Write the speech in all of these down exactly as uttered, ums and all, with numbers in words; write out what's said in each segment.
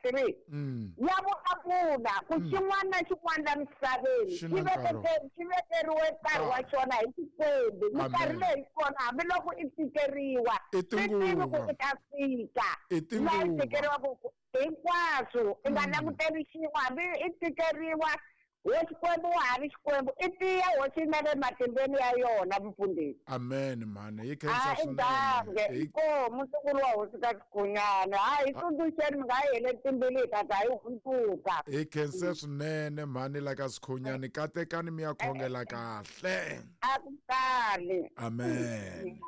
three Mm. Ya vulavula ku xin'wana na xin'wana la misaveni Xi xi na nkarhi. vekeke- xi vekeriwe nkarhi wa xona hi Xikwembu. Minkarhi Amen. leyi kona hambiloko i tikeriwa I swi tivi ku tinguva. i ta fika I laha i tinguva. tikeriwaka ku hinkwaswo i nga languteli xin'we hambi i tikeriwa ho Xikwembu wa ha ri Xikwembu i tiya hosi na le matimbeni ya yona mufundhisi. Amen mhani hi khensa A i swinene. dange Hi- inkomu ntukulu wa hosi ka Xikhonyana hayi hi tsundzuxeni mi nga hi heleli timbilu hi ta za hi hundzuka. Hi khense swinene mhani la ka Sikhonyani katekani mi ya khongela kahle. A ku kali. Amen.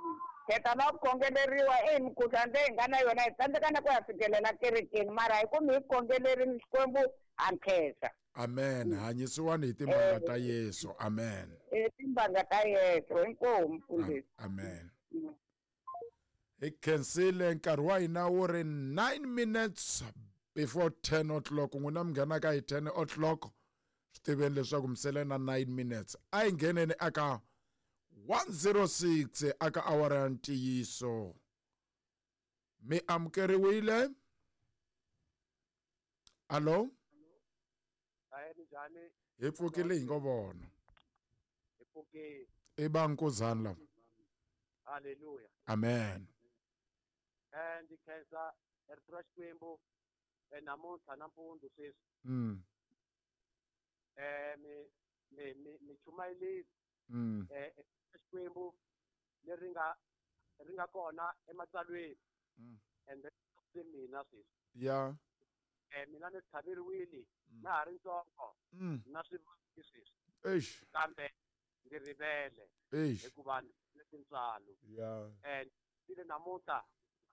Heta na ku khongeleriwa e mikhuhlwani leyi hi nga na yona hi tsandzeka na ku ya fikelela kerekeni mara hi ku mi hi khongelerini Xikwembu ha nkhensa. Amen. Hanyisiwani hi timbanga ta Yesu. Amen. E timbanga ta Yesu inkomu mfundhisi. Amen. Hi khensile nkarhi wa hina wu ri nine minutes before ten o'clock n'wina mi nghenaka hi ten o'clock swi tiveni leswaku mi sele na nine minutes a hi ngheneni aka one zero six aka awara ya ntiyiso mi amukeriwile alo Hayi njhani hi pfukile hi ngo vona hi pfukile i vankuzani lava haleluya amen eh ndzi khensa rito ra Xikwembu eh namuntlha nampundzu sweswi mm eh mi mi mi mi chumayelile mm eh Xikwembu leri nga ri nga kona ematsalweni Mm. and then mina sweswi ya eh mina ni tlhaveriwile na ha ri ntsongo mm na swivati sweswi eish kambe ndzi rivele eish hikuva ni tintswalo ya and ile namuntlha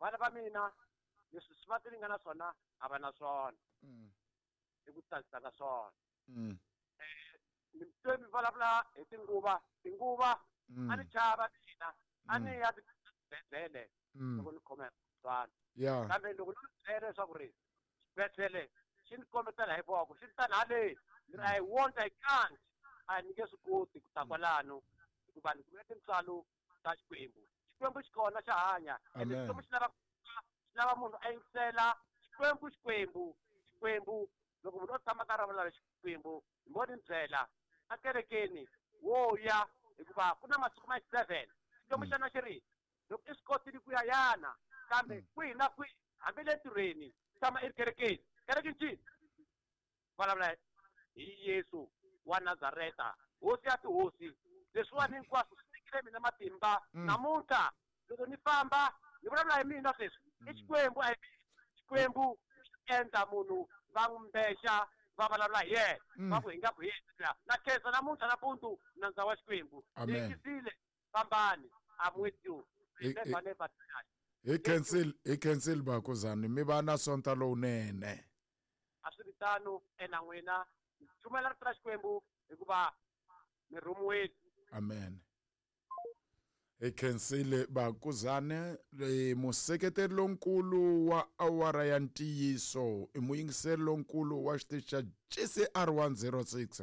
vana va mina leswi swi va ti nga na swona a va na swona mm i ku tsakisa ka swona mm ni twe mi vulavula hi tinguva tinguva Mm. a ni chava mina a ni ya tibedhlele Mm. loko ni khoma hi mukhuhlwana ya kambe loko ni byela leswaku ri xibedhlele xi ni kombetela hi voko xi ni tani haleni ni ri I won't I can't a ni nge swi koti ku ta kwalano hikuva ni kumile tintswalo ta Xikwembu Xikwembu xi kona xa hanya ende Amen. Xikwembu xi lava xi lava munhu a yingisela Xikwembu Xikwembu Xikwembu loko munhu o tshama ka ra vulavula Xikwembu hi mo ni byela a kerekeni wo ya hikuva ku na masiku ma seven Xikwembu xana xi ri loko i swi kotile ku ya yana kambe kwihi na kwihi hambi le ntirhweni tshama i ri kerekeni kereke ncini vulavula hi Yesu wa Nazareta hosi ya tihosi leswiwani hinkwaswo swi nyikile mina matimba namuntlha loko ni famba ni vulavula hi mina sweswi i Xikwembu a hi mina Xikwembu xi endla munhu va n'wi mbexa va vulavula hi yena va ku hi nga ku hi yena na khensa namuntlha nampundzu nandza wa Xikwembu ni Amen. yingisile fambani I'm with you I- I- never never die hi khensile hi khensile bakuzani mi va na sonta lowunene a swi ri tano ena n'wina chumela rito ra Xikwembu hikuva mi rhumiwile amen hi khensile bakuzane eh, museketeri lonkulu wa awara ya ntiyiso i muyingiseri lonkulu wa xitichi xa G C R one zero six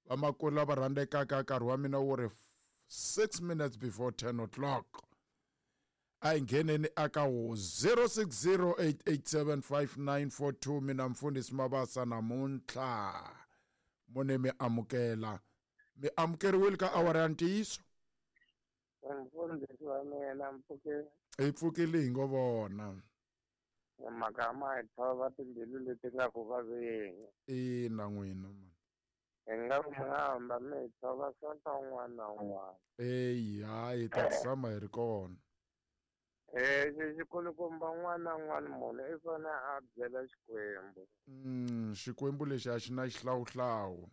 vamakulu lava rhandzekaka nkarhi wa mina wu ri six minutes before ten o'clock a hi ngheneni aka wo zero six zero eight eight seven five nine four two mina mfundhisi Mabasa namuntlha mune mi amukela mi amukeriwile ka awara ya ntiyiso mfundhisi wa mina mpfuke hi pfukile hi ngo vona mhaka ma hi thova timbilu leti nga ku vaveni ina n'wina man hi nga ku mi nga hamba mi hi thova sonto un'wana na un'wana eyi hayi hi ta tshama hi ri kona eh xikulukumba un'wana na un'wana munhu i fanele a byela Xikwembu mm Xikwembu lexi a xi na xihlawuhlawu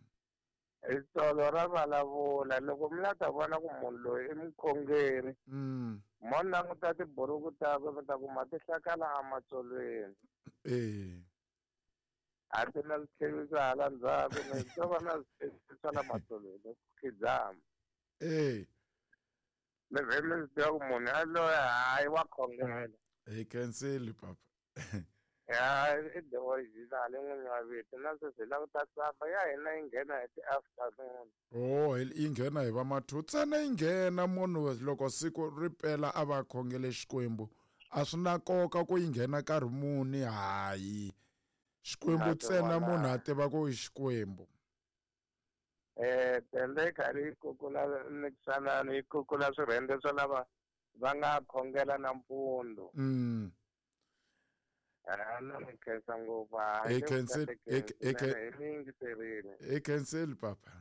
Ritsolo ra vulavula loko mi la ta vona ku munhu loyi i mukhongeri mm mo languta tiburuku takwe mi ta kuma ti hlakala ematsolweni eh a ti na switlheviso hala ndzhaku ni to va na switlheviso swa la matsolweni ku khidzama eh mi vhe mi swi tiva ku munhu yaloye hayi wa khongela hi khensile papa ya i the original n'winyi wa vito na sweswi hi lava ta tsamba ya hina yi nghena hi ti-afternoon oh yi nghena hi va mathu ntsena yi nghena munhu loko siku ri pela a va khongele Xikwembu a swi na nkoka ku yi nghena nkarhi muni hayi Xikwembu ntsena munhu a tiva ku i Xikwembu. Eh tende kari kukula niksanani kukula swirhende swa lava va nga khongela nampundzu. Mm. Ah no ni khensa ngopfu. Hi khensile hi khensile papa.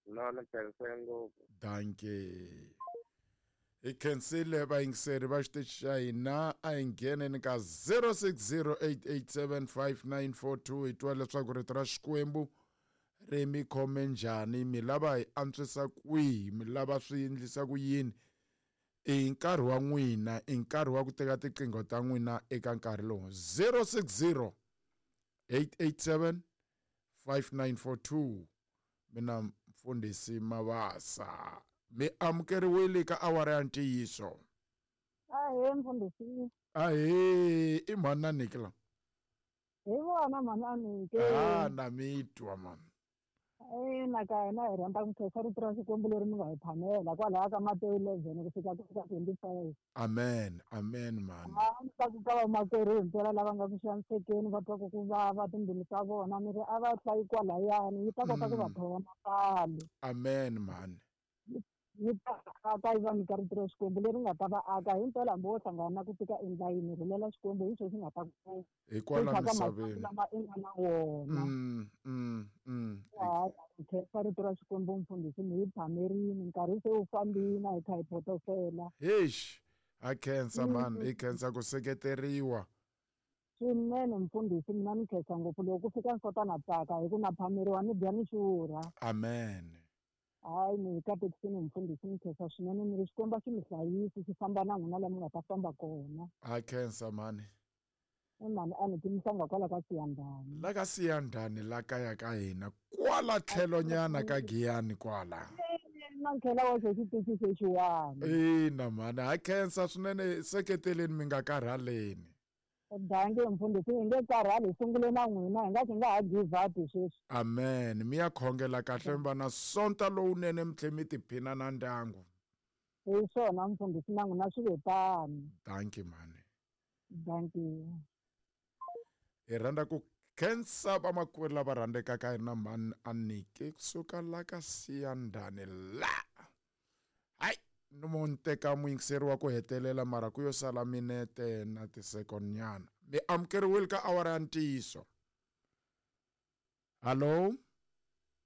No ni khense ngopfu. Dankie. Hi khensile vayingiseri va xitichi xa hina a hi ngheneni ka zero six zero eight eight seven five nine four two hi twa leswaku rito ra Xikwembu ri mi khome njhani, mi lava hi antswisa kwihi, mi lava swi endlisa ku yini. I nkarhi wa n'wina, i nkarhi wa ku teka tiqingho ta n'wina eka nkarhi lowu. zero six zero eight eight seven five nine four two. Mina Mfundhisi Mabasa, mi amukeriwile ka awara ya ntiyiso. Ahee Mfundhisi. Ahee, i mhani na Nikla. Hi vona mhani Anike. Ah, na mi twa mhani. Ina ka hina hi rhandza ku khensa rito ra Xikwembu leri mi nga hi phamela kwalaya ka Matewu eleven ku fika ka twenty five. Amen, amen mhani. A ni ta ku ka vamakwerhu himpela lava nga ku xanisekeni va twaku ku vava timbilu ta vona ni ri a va hlayi kwalayani yi ta kota ku va thova mapfalo. Amen mhani. Yi ta aka yi va nyika rito ra Xikwembu leri nga ta va aka himpela hambi wo hlangana na ku tika endlayini rhulela Xikwembu hi xo xi nga ta ku hikwala misaveni lama i nga na wona. Mm, mm, mm. Khensa rito ra Xikwembu Mfundhisi, mi hi phamerini nkarhi se wu fambile hi kha hi photosela. Eish, a khensa mhani, hi khensa ku seketeriwa swinene Mfundhisi. Mina ni khensa ngopfu loko ku fika nsota na tsaka hi ku na phameriwa ni dya ni xurha. Amen. Hayi ni hi katekisini Mfundhisi, ni khensa swinene ni ri Xikwembu a xi mi hlayisi xi famba na n'wina laha mi nga ta famba kona. A khensa mhani. I mhani a ni timisanga kwala ka Siyandhani. La ka Siyandhani la kaya ka hina kwala tlhelonyana ka Giyani kwala. Na ntlhela wa xo xitichi xexiwani. Ina mhani, ha khensa swinene, seketeleni mi nga karhaleni. Dankie Mfundhisi, hi nge karhali hi sungule na n'wina hi nga xi nga ha give up sweswi. Amen. Mi ya khongela kahle mi va na sonta lowunene mi tlhe mi tiphina na ndyangu. Hi swona Mfundhisi, na n'wina swi ve tano. Dankie mhani. Dankie. Hi rhandza ku khensa vamakwerhu lava rhandzekaka hi na mhani Anike kusuka la ka Siyandhani la. Hayi, ni mo ni teka muyingiseri wa ku hetelela mara ku yo sala minete na tisekoni nyana. Mi amukeriwile ka awara ya ntiyiso. Hallo?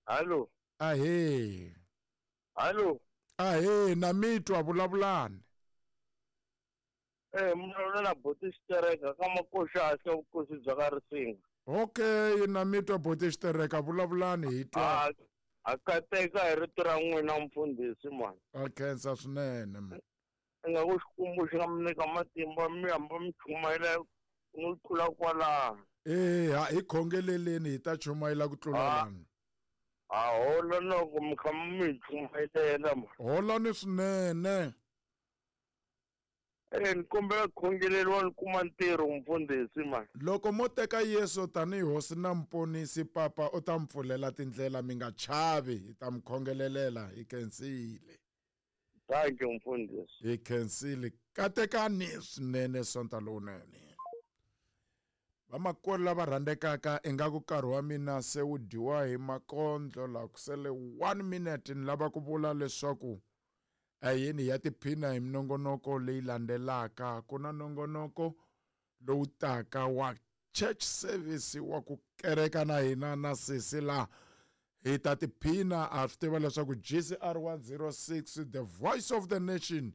Hallo. Ahee. Hallo. Ahee, na mi twa, vulavulani. Eh, mina na boti xitereka ka makoxa ka vukosi bya ka Risinga. Okay, na mi twa boti xitereka, vulavulani hi twa. A kateka hi rito ra n'wina Mfundhisi mhani. A khensa swinene mhani. Ingaku Xikwembu xi nga mi nyika matimba mi hamba mi chumayela no tlula kwalano. Eh, ha hi khongeleleni hi ta chumayela ku tlula lani. A hola loko mi kha mi chumayelela mhani. Holani swinene. Eh, ni kombela khongeleriwa ni kuma ntirho Mfundhisi mhani. Loko mo teka Yesu tanihi hosi na mponisi papa u ta mi pfulela tindlela mi nga chavi, hi ta mi khongelelela hi khensile. Thank you Mfundhisi. Hi khensile. Katekani swinene sonta lowunene. Vamakwerhu lava rhandzekaka ingaku nkarhi wa mina se wu dyiwa hi makondlo la ku sele one minute ni lava ku vula leswaku ayini ya tiphina hi minongonoko leyi landzelaka. Ku na nongonoko lowu taka wa church service wa ku kereka na hina na sesi la hi ta tiphina. A swi tiva leswaku G C R one oh six the voice of the nation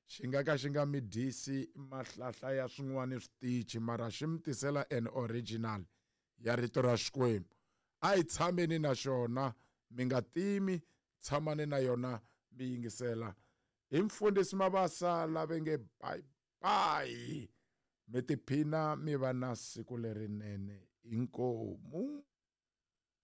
xi nga ka xi nga mi dyisi mahlahla ya swin'wana switichi mara xi mi tisela an original ya rito ra Xikwembu. A hi tshameni na xona, mi nga timi, tshamani na yona mi yingisela. Hi Mfundhisi Mabasa lava nge bye bye. Mi tiphina mi va na siku lerinene. Inkomu.